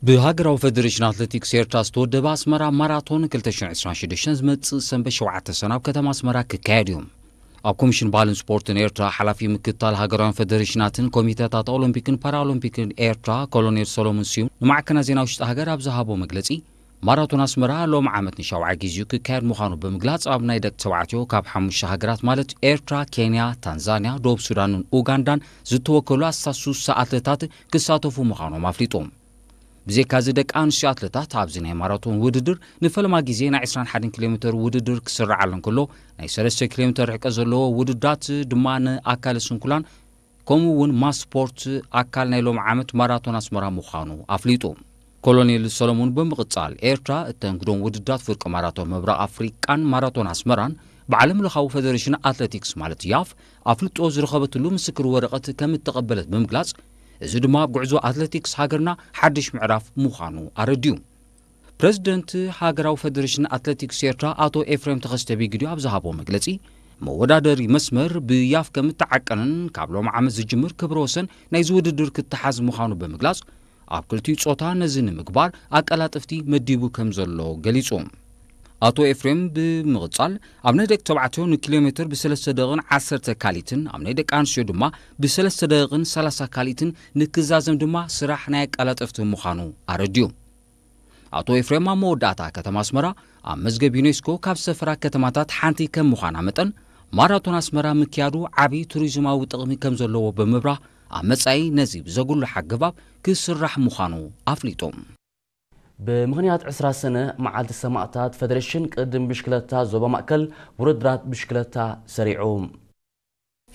ብሃገራዊ ፈደሬሽን ኣትሌቲክስ ኤርትራ ዝተወደበ ኣስመራ ማራቶን ክልተ ሽሕን ዕስራን ሽዱሽተን ዝመጽእ ሰንበት ሸውዓተ ሰነ ኣብ ከተማ ኣስመራ ክካየድ እዩ። ኣብ ኮሚሽን ባህልን ስፖርትን ኤርትራ ሓላፊ ምክትታል ሃገራውያን ፈደሬሽናትን ኮሚተታት ኦሎምፒክን ፓራኦሎምፒክን ኤርትራ ኮሎኔል ሰሎሞን ስዩም ንማዕከናት ዜና ውሽጢ ሃገር ኣብ ዝሃቦ መግለጺ፣ ማራቶን ኣስመራ ሎም ዓመት ንሻውዓይ ግዜኡ ክካየድ ምዃኑ ብምግላጽ፣ ኣብ ናይ ደቂ ተባዕትዮ ካብ ሓሙሽተ ሃገራት ማለት ኤርትራ፣ ኬንያ፣ ታንዛንያ፣ ደቡብ ሱዳንን ኡጋንዳን ዝተወከሉ ኣስታት ሱሳ ኣትለታት ክሳተፉ ምዃኖም ኣፍሊጡ። ብዘይካዚ ደቂ ኣንስትዮ ኣትለታት ኣብዚ ናይ ማራቶን ውድድር ንፈለማ ግዜ ናይ ዕስራን ሓደን ኪሎ ሜተር ውድድር ክስርዓሉ እንከሎ፣ ናይ ሰለስተ ኪሎ ሜተር ርሕቀት ዘለዎ ውድድራት ድማ ንኣካለ ስንኩላን ከምኡ እውን ማስ ስፖርት ኣካል ናይ ሎም ዓመት ማራቶን ኣስመራ ምዃኑ ኣፍሊጡ። ኮሎኔል ሰሎሞን ብምቕጻል፣ ኤርትራ እተንግዶም ውድድራት ፍርቂ ማራቶን ምብራቕ ኣፍሪቃን ማራቶን ኣስመራን ብዓለም ለኻዊ ፈደሬሽን ኣትሌቲክስ ማለት ያፍ ኣፍልጦ ዝረኸበትሉ ምስክር ወረቐት ከም እተቐበለት ብምግላጽ፣ እዚ ድማ ኣብ ጉዕዞ ኣትሌቲክስ ሃገርና ሓድሽ ምዕራፍ ምዃኑ ኣረድዩ። ፕረዚደንት ሃገራዊ ፈደሬሽን ኣትሌቲክስ ኤርትራ ኣቶ ኤፍሬም ተኸስተ ቢግዲ ኣብ ዝሃቦ መግለጺ፣ መወዳደሪ መስመር ብያፍ ከም እተዓቀንን ካብ ሎም ዓመት ዝጅምር ክብረ ወሰን ናይዚ ውድድር ክተሓዝ ምዃኑ ብምግላጽ፣ ኣብ ክልቲኡ ጾታ ነዚ ንምግባር ኣቀላጥፍቲ መዲቡ ከም ዘሎ ገሊጹ። ኣቶ ኤፍሬም ብምቕጻል፣ ኣብ ናይ ደቂ ተባዕትዮ ንኪሎ ሜትር ብሰለስተ ደቂቕን ዓሰርተ ካሊትን፣ ኣብ ናይ ደቂ ኣንስትዮ ድማ ብሰለስተ ደቂቕን ሰላሳ ካሊትን ንክዛዘም ድማ ስራሕ ናይ ኣቀላጠፍቲ ምዃኑ ኣረድዩ። ኣቶ ኤፍሬም ኣብ መወዳእታ ከተማ ኣስመራ ኣብ መዝገብ ዩኔስኮ ካብ ዝሰፈራ ከተማታት ሓንቲ ከም ምዃና መጠን፣ ማራቶን ኣስመራ ምክያዱ ዓቢ ቱሪዝማዊ ጥቕሚ ከም ዘለዎ ብምብራህ፣ ኣብ መጻኢ ነዚ ብዘጉልሕ ኣገባብ ክስራሕ ምዃኑ ኣፍሊጡ። ብምኽንያት ዕስራ ሰነ መዓልቲ ሰማእታት፣ ፈደሬሽን ቅድም ብሽክለታ ዞባ ማእከል ውድድራት ብሽክለታ ሰሪዑ።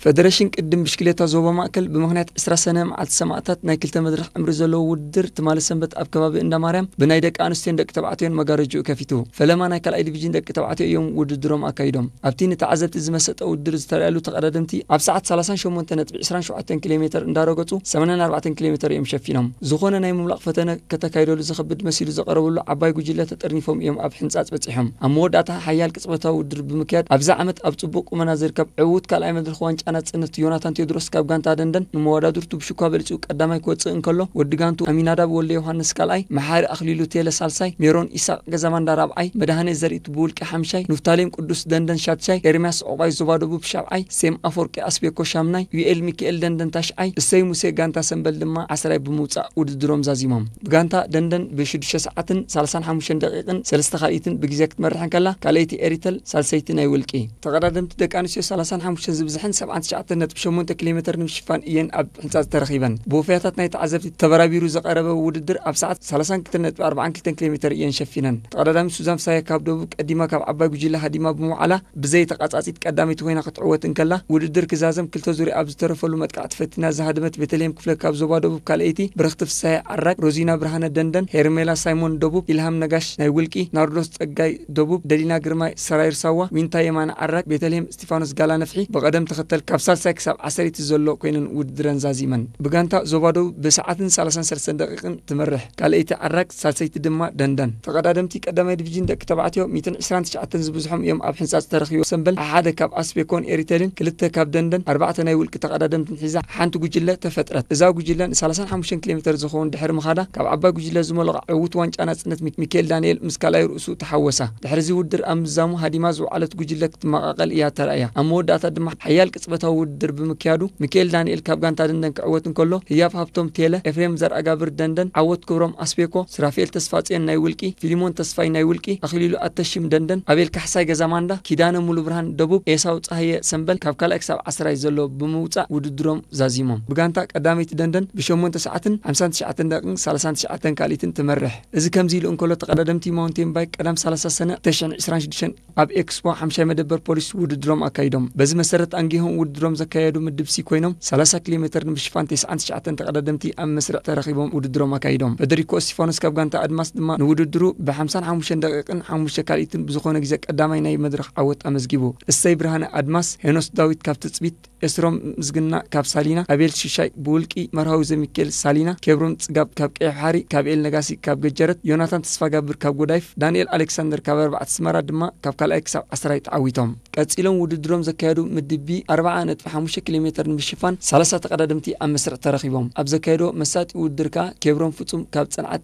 ፈደሬሽን ቅድም ብሽክሌታ ዞባ ማእከል ብምኽንያት ዕስራ ሰነ መዓልቲ ሰማእታት ናይ ክልተ መድረኽ ዕምሪ ዘለዎ ውድድር ትማሊ ሰንበት ኣብ ከባቢ እንዳ ማርያም ብናይ ደቂ ኣንስትዮን ደቂ ተባዕትዮን መጋረጅኡ ከፊቱ። ፈለማ ናይ ካልኣይ ዲቪዥን ደቂ ተባዕትዮ እዮም ውድድሮም ኣካይዶም። ኣብቲ ንተዓዘብቲ ዝመሰጠ ውድድር ዝተረኣየሉ ተቐዳደምቲ ኣብ ሰዓት ሰላሳን ሸሞንተ ነጥቢ ዕስራን ሸውዓተን ኪሎ ሜተር እንዳረገጹ ሰማንያን ኣርባዕተን ኪሎ ሜተር እዮም ሸፊኖም። ዝኾነ ናይ ምምላቕ ፈተነ ከተካይደሉ ዝኸብድ መሲሉ ዝቐረበሉ ዓባይ ጉጅለ ተጠርኒፎም እዮም ኣብ ሕንጻጽ በጺሖም። ኣብ መወዳእታ ሓያል ቅጽበታዊ ውድድር ብምክያድ ኣብዚ ዓመት ኣብ ጽቡቕ ቁመና ዝርከብ ዕዉት ካልኣይ መድረኽ ዋንጫ ናጽነት ዮናታን ቴዎድሮስ ካብ ጋንታ ደንደን ንመወዳድርቱ ብሽኳ በሊጹ ቀዳማይ ክወጽእ እንከሎ፣ ወዲ ጋንቱ ኣሚናዳብ ወልደ ዮሃንስ ካልኣይ፣ መሓሪ ኣኽሊሉ ቴለ ሳልሳይ፣ ሜሮን ኢሳቕ ገዛማንዳ ራብዓይ፣ መድሃኔ ዘርኢት ብውልቂ ሓምሻይ፣ ንፍታሌም ቅዱስ ደንደን ሻድሻይ፣ ኤርምያስ ዑቕባይ ዞባ ደቡብ ሻብዓይ፣ ሴም ኣፈወርቂ ኣስቤኮ ሻምናይ፣ ዩኤል ሚካኤል ደንደን ታሽዓይ፣ እሰይ ሙሴ ጋንታ ሰምበል ድማ ዓስራይ ብምውጻእ ውድድሮም ዛዚሞም። ብጋንታ ደንደን ብሽዱሽተ ሰዓትን ሰላሳን ሓሙሽተን ደቂቕን ሰለስተ ካልኢትን ብግዜ ክትመርሕ እንከላ፣ ካልኣይቲ ኤሪተል ሳልሰይቲ ናይ ውልቂ። ተቐዳደምቲ ደቂ ኣንስትዮ ሰላሳን ሓሙሽተን ዝብዝሕን ሰብዓን ትሽዓተን ነጥቢ ሸሞንተ ኪሎ ሜተር ንምሽፋን እየን ኣብ ሕንጻጽ ተረኺበን። ብወፈያታት ናይ ተዓዘብቲ ተበራቢሩ ዝቐረበ ውድድር ኣብ ሰዓት ሰላሳን ክልተን ነጥቢ ኣርባዓን ክልተን ኪሎ ሜተር እየን ሸፊነን። ተቐዳዳሚት ሱዛን ፍሳየ ካብ ደቡብ ቀዲማ ካብ ዓባይ ጉጅለ ሃዲማ ብምውዓላ፣ ብዘይ ተቓጻጺት ቀዳመይቲ ኮይና ክትዕወት እንከላ፣ ውድድር ክዛዘም ክልተ ዙርያ ኣብ ዝተረፈሉ መጥቃዕቲ ፈቲና ዝሃደመት ቤተልሔም ክፍለ ካብ ዞባ ደቡብ ካልኣይቲ፣ ብርኽቲ ፍሳየ ዓራግ፣ ሮዚና ብርሃነ ደንደን፣ ሄርሜላ ሳይሞን ደቡብ፣ ኢልሃም ነጋሽ ናይ ውልቂ፣ ናርዶስ ጸጋይ ደቡብ፣ ደሊና ግርማይ ሰራይር ሳዋ፣ ዊንታ የማነ ዓራግ፣ ቤተልሔም እስጢፋኖስ ጋላ ነፍሒ ብቐደም ተኸተል ካብ ሳልሳይ ክሳብ ዓሰርይቲ ዘሎ ኮይነን ውድድረን ዛዚመን። ብጋንታ ዞባ ደቡብ ብሰዓትን ሰላሳን ሰለስተን ደቂቕን ትመርሕ። ካልኣይቲ ዓራግ፣ ሳልሰይቲ ድማ ደንደን። ተቐዳደምቲ ቀዳማይ ዲቪዥን ደቂ ተባዕትዮ ሚእትን ዕስራን ትሽዓተን ዝብዝሖም እዮም ኣብ ሕንጻጽ ተረኺቦም። ሰምበል ሓደ ካብ ኣስቤኮን ኤሪተልን፣ ክልተ ካብ ደንደን፣ ኣርባዕተ ናይ ውልቂ ተቐዳደምትን ሒዛ ሓንቲ ጉጅለ ተፈጥረት። እዛ ጉጅለ ንሰላሳን ሓሙሽተን ኪሎ ሜተር ዝኸውን ድሕሪ ምኻዳ፣ ካብ ዓባይ ጉጅለ ዝመለቐ ዕዉት ዋንጫ ናጽነት ሚክ-፣ ሚካኤል ዳንኤል ምስ ካልኣይ ርእሱ ተሓወሳ። ድሕሪ እዚ ውድድር ኣብ ምዛሙ ሃዲማ ዝወዓለት ጉጅለ ክትመቓቐል እያ ተራእያ። ኣብ መወዳእታ ድማ ሓያል ቅጽበታዊ ውድድር ብምክያዱ፣ ሚካኤል ዳንኤል ካብ ጋንታ ደንደን ክዕወት እንከሎ፣ ህያብ ሃብቶም ቴለ፣ ኤፍሬም ዘርኣጋብር ደንደን፣ ዓወት ክብሮም ኣስቤኮ፣ ስራፌል ተስፋጽዮን ናይ ውልቂ፣ ፊሊሞን ተስፋይ ናይ ውልቂ፣ ኣኽሊሉ ኣተሺም ደንደን፣ ኣቤል ካሕሳይ ገዛማንዳ፣ ኪዳነ ሙሉብርሃን ደቡብ፣ ኤሳው ጸሃየ ሰምበል ካብ ካልኣይ ክሳብ ዓስራይ ዘሎ ብምውጻእ ውድድሮም ዛዚሞም። ብጋንታ ቀዳመይቲ ደንደን ብሸሞንተ ሰዓትን ሓምሳን ትሽዓተን ደቂቕን ሰላሳን ትሽዓተን ካልኢትን ትመርሕ። እዚ ከምዚ ኢሉ እንከሎ፣ ተቐዳደምቲ ማውንቴን ባይክ ቀዳም ሰላሳ ሰነ ክልተ ሽሕን ዕስራን ሽዱሽተን ኣብ ኤክስፖ ሓምሻይ መደበር ፖሊስ ውድድሮም ኣካይዶም። በዚ መሰረት ኣንጊሆም ውድድሮም ዘካየዱ ምድብ ሲ ኮይኖም፣ ሰላሳ ኪሎ ሜተር ንምሽፋን ተስዓን ትሽዓተን ተቐዳደምቲ ኣብ መስርዕ ተረኺቦም ውድድሮም ኣካይዶም። ፈደሪኮ እስቲፋኖስ ካብ ጋንታ ኣድማስ ድማ ንውድድሩ ብሓምሳን ሓሙሽተን ደቂቕን ሓሙሽተ ካልኢትን ብዝኾነ ግዜ ቀዳማይ ናይ መድረኽ ዓወት ኣመዝጊቡ። እሰይ ብርሃነ ኣድማስ፣ ሄኖስ ዳዊት ካብ ትጽቢት፣ ኤስሮም ምስግና ካብ ሳሊና፣ ኣቤል ሽሻይ ብውልቂ፣ መርሃዊ ዘሚካኤል ሳሊና፣ ኬብሮን ጽጋብ ካብ ቀይሕ ባሕሪ፣ ካብ ኤል ነጋሲ ካብ ገጀረት፣ ዮናታን ተስፋጋብር ካብ ጎዳይፍ፣ ዳንኤል ኣሌክሳንደር ካብ ኣርባዕተ ኣስመራ ድማ ካብ ካልኣይ ክሳብ ዓስራይ ተዓዊቶም። ቀጺሎም ውድድሮም ዘካየዱ ምድብ ቢ ኣርብዓ ነጥቢ ሓሙሽተ ኪሎ ሜተር ንምሽፋን ሰላሳ ተቐዳደምቲ ኣብ መስርዕ ተረኺቦም። ኣብ ዘካየዶ መሳጢ ውድድር ከኣ ኬብሮን ፍጹም ካብ ጽንዓት